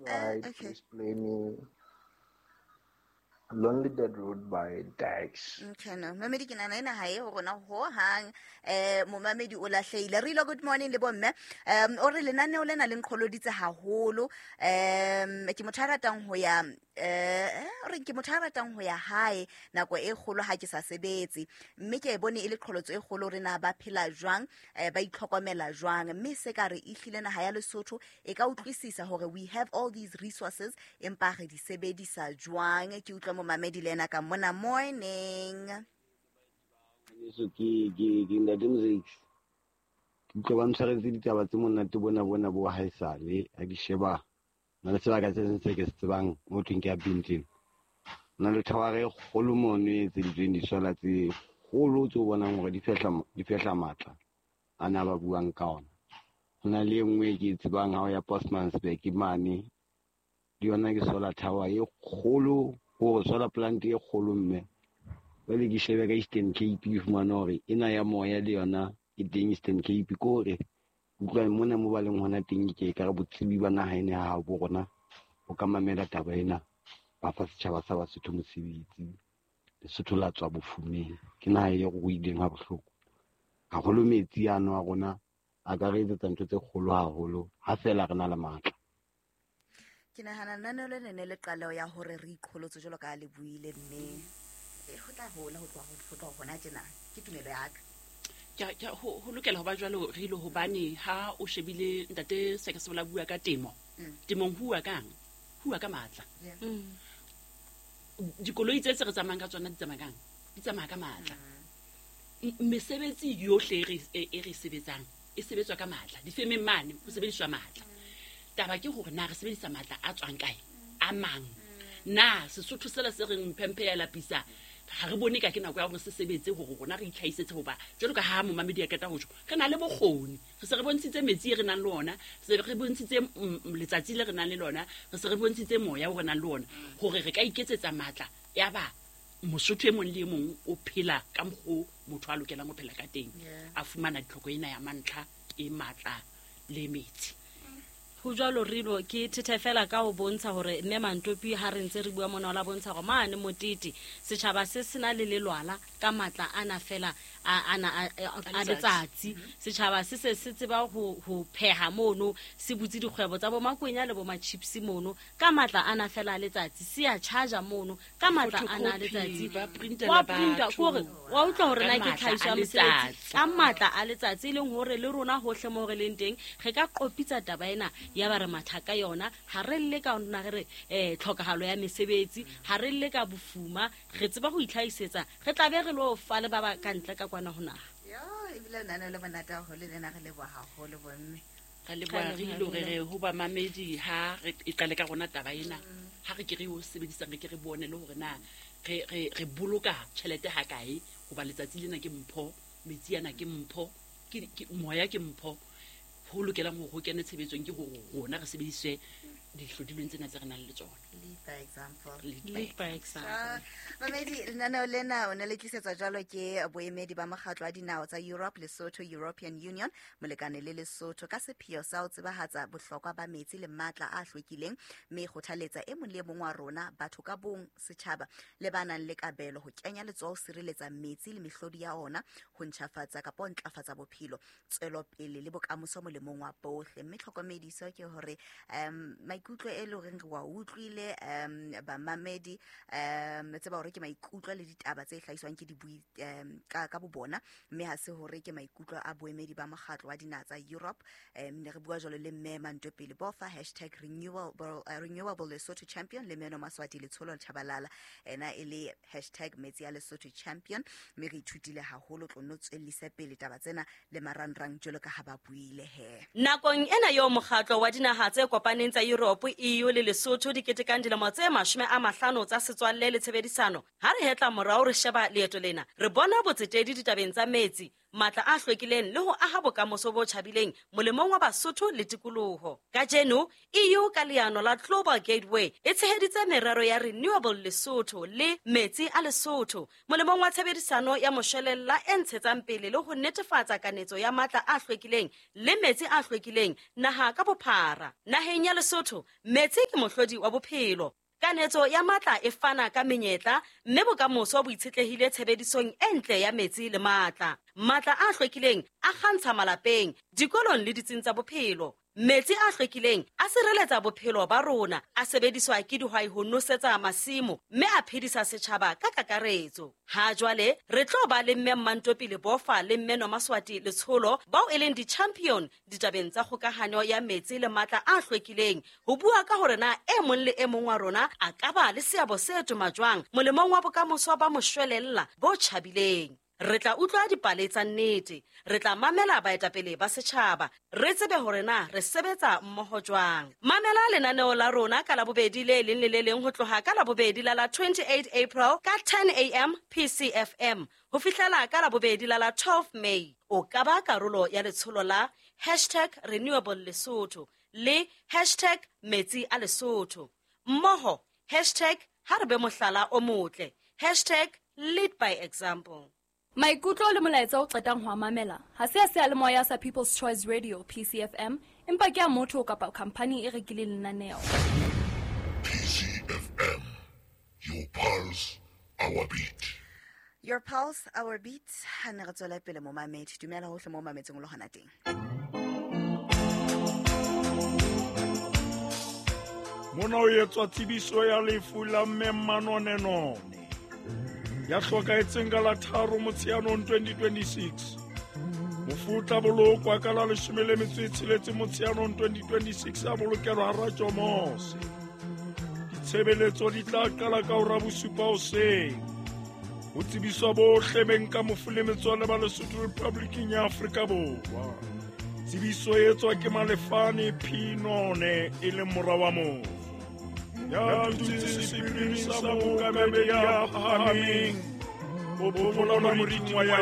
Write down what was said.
Right, okay. Please play me Lonely Dead Road by Dax. Okay, no. Mamedi ke nahana ena ha e ho rona hohang. Momamedi o lahlehile. Rilo, good morning le bomme. O re lenaneo lena le nqholoditse haholo. Ke motho a ratang ho ya, o re ke motho a ratang ho ya hae nako e kgolo ha ke sa sebetse. Mme ke e bone e le qholotso e kgolo hore na ba phela jwang, ba itlhokomela jwang. Mme se ka re ehlile naha ya Lesotho e ka utlwisisa hore we have all these resources empa re di sebedisa jwang. Ke utlwa momamedi le ena ka mona. Morning. Ngwaneso, ke Ntate Mzeki. Ke utlwa ba ntshwaretse ditaba tse monate bona bona bo haesale ha ke sheba. Na le sebaka se seng se ke se tsebang mo thweng ke ya Bintleng. Na le thawara e kgolo mono e etseditsweng disola tse kgolo tse o bonang hore di fehla matla ana ba buang ka ona. Ho na le e nngwe e ke e tsebang ha o ya Postmasburg mane, le yona ke solar tower e kgolo, hore solar plant e kgolo mme. Jwale ke shebe ka Eastern Cape, ke fumane hore ena ya moya le yona e teng Eastern Cape. Ke hore utlwa mona mo ba leng hona teng, ke ekare botsebi ba naha ena ya habo rona bo ka mamela taba ena, ba fa setjhaba sa Basotho mosebetsi. Lesotho la tswa bofumeng, ke naha e ruileng ha bohloko haholo. Metsi ano a rona a ka re etsetsa ntho tse kgolo haholo ha feela re na le matla. Ke nahana lenaneo le ne le qaleho ya hore re iqholotse jwalo ka ha le buile, mme ho tla hola ho tloha ho tloha hona tjena. Ke tumelo ya ka. Ho lokela ho ba jwalo re ile, hobane ha o shebile ntate Sekesebola bua ka temo. Temong ho bua kang? Ho bua ka matla. Dikoloi tse tse re tsamayang ka tsona di tsamaya kang? Di tsamaya ka matla. Mesebetsi yohle e re sebetsang e sebetswa ka matla. Difemeng mane ho sebediswa matla. Taba ke hore na re sebedisa matla a tswang kae? A mang? Na Sesotho sela se reng mphemphe ya lapisa, ha re bone ka ke nako ya hore se sebetse hore rona re itlhahisetse, hoba jwalo ka ha momamedi a qeta ho tjho, re na le bokgoni. Re se re bontshitse metsi e re nang le ona, re se re bontshitse letsatsi le re nang le lona, re se re bontshitse moya o re nang le ona, hore re ka iketsetsa matla. Ya ba Mosotho e mong le e mong o phela ka mokgo motho a lokelang ho phela ka teng, a fumana ditlhoko ena ya mantlha e matla le metsi. Ho jwalo Rilo, ke thethe fela ka ho bontsha hore mme Mantopi ha re ntse re bua mona o la bontsha hore mane Motete setjhaba se sena le lelwala ka matla ana fela ana a letsatsi. Setjhaba se se se tseba ho pheha mono, se butse dikgwebo tsa bo makwenya le bo ma-chips mono ka matla ana fela a letsatsi, se a charge mono ka matla ana a letsatsi. Ba printela Wa printa, batho. kore wa utlwa hore na Ka ke matla tlhahiso a ya mosebetsi. letsatsi. Ka matla a letsatsi, e leng hore le rona hohle moo re leng teng re ka qopitsa taba ena ya ba re matha ka yona. Ha re lle ka nna re re, tlhokahalo ya mesebetsi, ha re lle ka bofuma, re tseba ho itlhahisetsa, re tla be re lo fa le ba ba ka ntle ka kwana ho naha. Yo, ebile lenaneo le monate haholo lena, re leboha haholo bomme. Re leboha Re re leboha ile hore re re ho bamamedi ha re e qale ka rona taba ena. Ha re ke re o sebedisang, re ke re bone le hore na re boloka tjhelete ha kae, hoba letsatsi lena ke mpho, metsi ana ke mpho, ke moya ke mpho. Ho lokelang hore ho kene tshebetsong ke hore rona re sebedise dihlodilweng tsena tse re nang le tsona. Lead by example. Lead by Lead by example. Mamedi, lenaneo lena o ne le tlisetswa jwalo ke boemedi ba mokgatlo wa dinaha tsa Europe, Lesotho European Union, molekane le Lesotho, ka sepheo sa ho tsebahatsa bohlokwa ba metsi le matla a hlwekileng, mme e kgothaletsa e mong le e mong wa rona, batho ka bong, setjhaba le ba nang le kabelo ho kenya letsoho ho sireletsa metsi le mehlodi ya ona, ho ntjhafatsa kapa ho ntlafatsa bophelo, tswelopele le bokamoso molemong wa bohle. Mme tlhokomediso ke hore, maikutlo e leng horeng re wa utlwile, bamamedi, tseba hore ke maikutlo le ditaba tse hlahiswang ke dibui, ka bobona, mme ha se hore ke maikutlo a boemedi ba mokgatlo wa dinaha tsa Europe. Ne re bua jwalo le mme Mantopele Bofa, hashtag renewable Lesotho champion, le Meno Maswati Letsholo Tshabalala, ena e le hashtag metsi a Lesotho champion. Mme re ithutile haholo, tlo no tswellise pele taba tsena le marangrang jwalo ka ha ba buile he. Nakong ena eo mokgatlo wa dinaha tse kopaneng tsa Europe, EU le Lesotho di ketekang dilemo tse 50 tsa setswalle le tshebedisano, ha re hetla morao re sheba leeto lena, re bona botsetedi ditabeng tsa metsi, matla a hlwekileng le ho aha bokamoso bo tjhabileng molemong wa Basotho le tikoloho. Kajeno, EU ka leano la Global Gateway e tsheheditse merero ya Renewable Lesotho le Metsi a Lesotho molemong wa tshebedisano ya moshwelella e ntshetsang pele le ho netefatsa kanetso ya matla a hlwekileng le metsi a hlwekileng naha ka bophara. Naheng ya Lesotho, metsi ke mohlodi wa bophelo. Kanetso ya matla e fana ka menyetla mme bokamoso bo itshetlehile tshebedisong e ntle ya metsi le matla. Matla a hlwekileng a kgantsha malapeng, dikolong le ditsing tsa bophelo. Metsi a hlwekileng a sireletsa bophelo ba rona, a sebediswa ke dihwai ho nosetsa masimo mme a phedisa setjhaba ka kakaretso. Ha jwale re tlo ba le Mme Mmantopi Lebofa le Mme Nomaswati Letsholo bao e leng di-champion ditabeng tsa kgokahanyo ya metsi le matla a hlwekileng ho bua ka hore na e mong le e mong wa rona a ka ba le seabo se toma jwang molemong wa bokamoso ba moshwelella bo tjhabileng. Re tla utlwa dipale tsa nnete, re tla mamela baetapele ba setjhaba, re tsebe hore na re sebetsa mmoho jwang. Mamela lenaneo la rona ka Labobedi le leng le le leng ho tloha ka Labobedi la la 28 April ka 10 am PCFM ho fihlela ka Labobedi la la 12 May. O ka ba karolo ya letsholo la hashtag Renewable Lesotho le hashtag Metsi a Lesotho. Mmoho hashtag ha re be mohlala o motle, hashtag lead by example. Maikutlo le molaetsa o qetang ho a mamela ha se a seyalemoya sa People's Choice Radio PCFM, empa ke a motho kapa khamphani e rekileng lenaneo. PCFM, your pulse, our beat. Your pulse, our beat. Ha ne re tswela pele momamedi, dumela hohle mo mametseng o le hona teng. Mona o etswa tsebiso ya lefu la Mme Manonenone ya hlokahetseng ka la 3 Motsheanong 2026. Mofu o tla bolokwa ka la 16 Motsheanong 2026 a bolokelwa hara Tjomose. Ditshebeletso di tla qala ka hora 7 hoseng. Ho tsebiswa bohle beng ka mofu le metswalle ba Lesotho Republicing ya Afrika Borwa. Tsebiso e etswa ke Malefane P. None e leng mora wa mofu. Ya dutse sephiring sa mookamedi ya phahameng, o phomola moriting wa